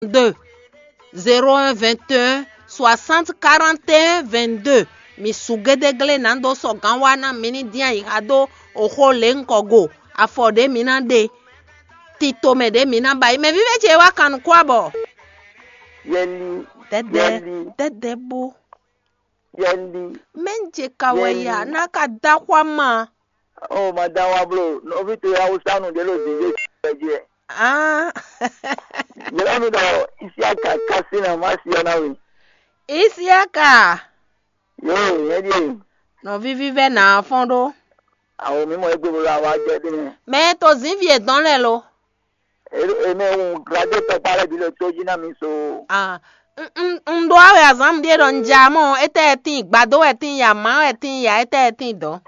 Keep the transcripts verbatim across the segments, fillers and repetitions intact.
deux, zéro un vingt et un soixante quarante et un vingt-deux. Mi su gédéglé nǎ dó sɔgǎn wá ná mi ní dín ayǐ xa dó oxó lě ŋkɔ go. Afɔ ɖě mi ná ɖe, tito mɛ ɖě mi ná ba yi. Mɛ vívɛ́ ce wá kan nukún abɔ. Yɛli, Dɛdɛ, yɛli, dɛdɛ bó. yɛli. Mɛ ń je ka wɛ ya ná ka dá xwá ma. O ma da wa blo, nɔvi to ya wusa nu ɖe lo dinde ɛ jí ɛ. Ah, Yɛlɛ mi ɖɔ isi aka kasi na ma si ɔna we. Isiaka, Yo, yɛ di. nɔvi vívɛ́ nà fɔ́n ɖó. Awo mi mɔ egbe bolo awa jɛ de ne. Mɛ to zǐnvi e dɔn lɛ lo. Eme un glade tɔkpa lɛ bi le to jí na mi so. Ah, n- n- n ɖó awɛ azǎn ɖíe ɖɔ n ja mɔ, étɛ́ tín gbadó wɛ tín ya, má wɛ tín ya, étɛ́ tín dɔn.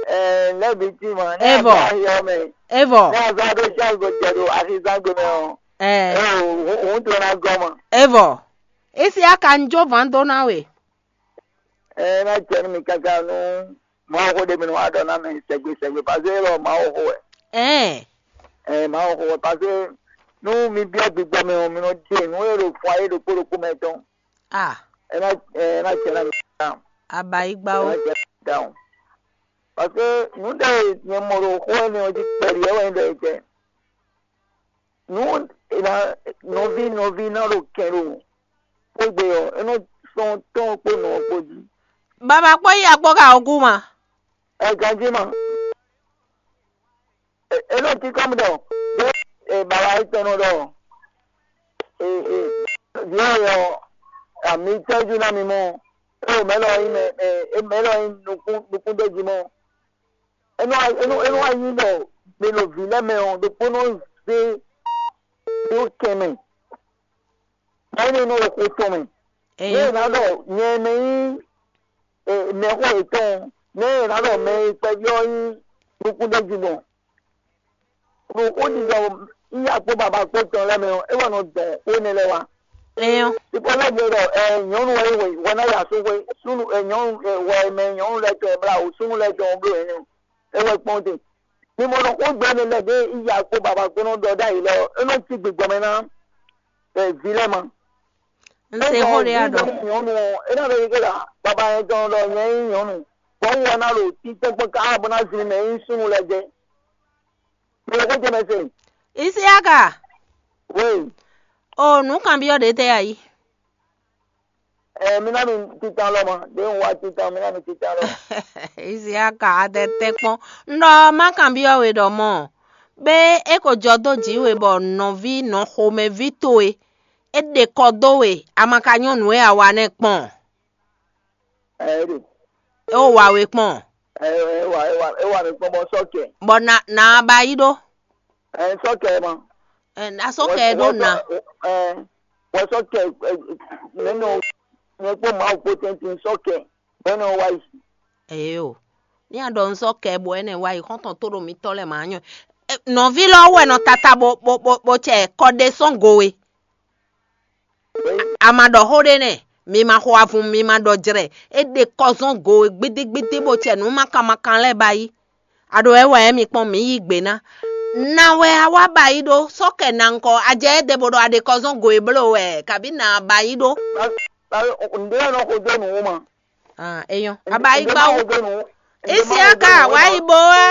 Ɛ lɛbi ti ma. Evɔ. Yɔ mɛ. Evɔ. Ne azɔ do chance go jɛ do axizan go mɛ o. Ɛ, Ɛ o hun to na gɔ ma. Evɔ. Isiaka ń jó vǎn dó ná we. Ɛ na jɛ nu mi kaka nu. Mawu xo ɖe mi nu wa ɖɔ na mɛ sɛgbe sɛgbe parce que elɔ Mawu xo wɛ. Ɛn, Ɛ Mawu xo wɛ parce que nu mi biɔ gbigbɔ mɛ o mi nɔ ɖe nu e ɖo fɔ ayé ɖokpó ɖokpó mɛ tɔn. ah, Ɛ na ɛ na jɛ na mi kaka. abayigbawo. Down. Parce que nu ɖe nyɛ mɔ ɖo xó ɛnɛ ɔ́ jí kpɛɖi ɛ wɛ nyí ɖɔ etɛ. Nu ena nɔví nɔví ná ɖo kɛn ɖo xwégbe ɔ́, é nɔ sɔn tɔn kpó nɔ ɔ́ kpó jí. Baba kpó yi akpó ka ogu ma. Ɛ ganjí ma. É nɔ kíkɔ́ mi ɖɔ ɖó baba étɔn nɔ ɖɔ. Vǐ ɔ́ ɔ́, àmì tɛ́jú ná mi mɔ. É o mɛ̌ lɔ nyí mɛ mɛ mɛ̌ lɔ nyí nukún nukúndéjí mɔ. É nɔ é nɔ é nɔ wá nyí ɖɔ mi ɖo vǐ lɛ́ɛ mɛ ɔ́, ɖokpónɔ zé dó kɛn mɛ. Mɛ̌ nɔ nɔ xo tɔn mɛ. Nɛ è nǎ ɖɔ nyɛ mɛ nyí mɛxó yětɔn, nɛ è nǎ ɖɔ mɛ e kpɛví ɔ́ nyí nukúndéjí gbɔn. Ɖo xó ɖiɖɔ yíyá kpó baba kpó tɔn lɛ́ɛ mɛ ɔ́, é wɛ nɔ dɔn xó énɛ́ lɛ́ɛ wá. Ɛyɔ. Ìpọ́nlọ́gbé ɖɔ ɛ nyɔ̌nu wɛ wɛ wɛ ná ya súnxwé, súnnu ɛ nyɔ̌nu ɛ wɛ mɛ nyɔ̌nu lɛ́ɛ tɔn ɛ blá wǔ súnnu lɛ́ɛ tɔn ɔ́ bló ɛnɛ́ ɔ́, é wɛ kpɔ́n te. Mi mɔ ɖɔ xó gbɛ́nɛ lɛ́ɛ ɖě yíyá kpó baba kpó nɔ ɖɔ ɖ'ayǐ lɛ́ɛ ɔ́, é nɔ cí gbigbɔ mɛ ná ɛ vǐ lɛ́ɛ ma. N se xó ɖé a ɖɔ. Nyɔ̌nu ɔ́, é ná ɖɔ yí ké ɖɔ baba nyɛ tɔn ɖɔ nyɛ nyí nyɔ̌nu, bɔ un wɔ ná ɖo títɛ́ kpɔ́n ká bó ná zin mɛ nyí súnnu lɛ́ɛ jɛ. Mi lɔ xó jɛ mɛ se. Isiaka, Wéyi. o nǔ kanbyɔ́ ɖě tɛ a yí. Ɛ mi ná mi titan lɔ ma, ɖě un wá titan, mi ná mi titan lɔ. Isiaka, a tɛ tɛ kpɔ́n. N ɖɔ má kanbyɔ́ we ɖɔ mɔ, bé é ko jɔ dó jǐ we bɔ nɔví nɔ xomɛví towe, é ɖe kɔ dó we, a ma ka nyɔ́ nǔ e a wa nɛ́ kpɔ́n. Ɛ é ɖe. É wó wa we kpɔ́n. Ɛ é wà é wà é wà mí kpɔ́n bɔ sɔ́ kɛ. Bɔ na na ba yi ɖó. Ɛ sɔ́ kɛ ma. Ɛ, a sɔ́ kɛ ɖó na. Ɛ wɔ sɔ́ kɛ ɛ mɛ nɔ nyɛ kpó Mawu kpó tɛntin sɔ́ kɛ mɛ nɔ wá yi. Eyo. Ní a ɖɔ n sɔ́ kɛ bɔ ɛnɛ wá yi xɔ́ntɔn tó ɖo mítɔ́ lɛ́ɛ mǎ nyɔ. Ɛ, nɔví lɔ wɛ nɔ tata bo bo bo bo cɛ kɔ ɖe sɔ́n go we. A ma ɖɔ xó ɖé nɛ, mi ma xo avun, mi ma ɖɔ jlɛ. É ɖe kɔ zɔ́n go we gbédégbédé bó cɛ nǔ makan makan lɛ́ɛ ba yi. A ɖo wɛ wɛ mi kpɔn mǐ yí gbě ná. Na wɛ a wá ba yi ɖó sɔ́ kɛ na ŋkɔ, a jɛ éɖɛ bo ɖɔ a ɖe kɔ zɔ́n go e bló wɛ, kabǐ na ba yi ɖó. Ǹdé ɔ́ nɔ xo dó nǔ wú ma. Ah, eyɔn. A ba yi Ǹdé gbá má wú. xo dó nǔ wú. Isiaka wá yi bo wɛ.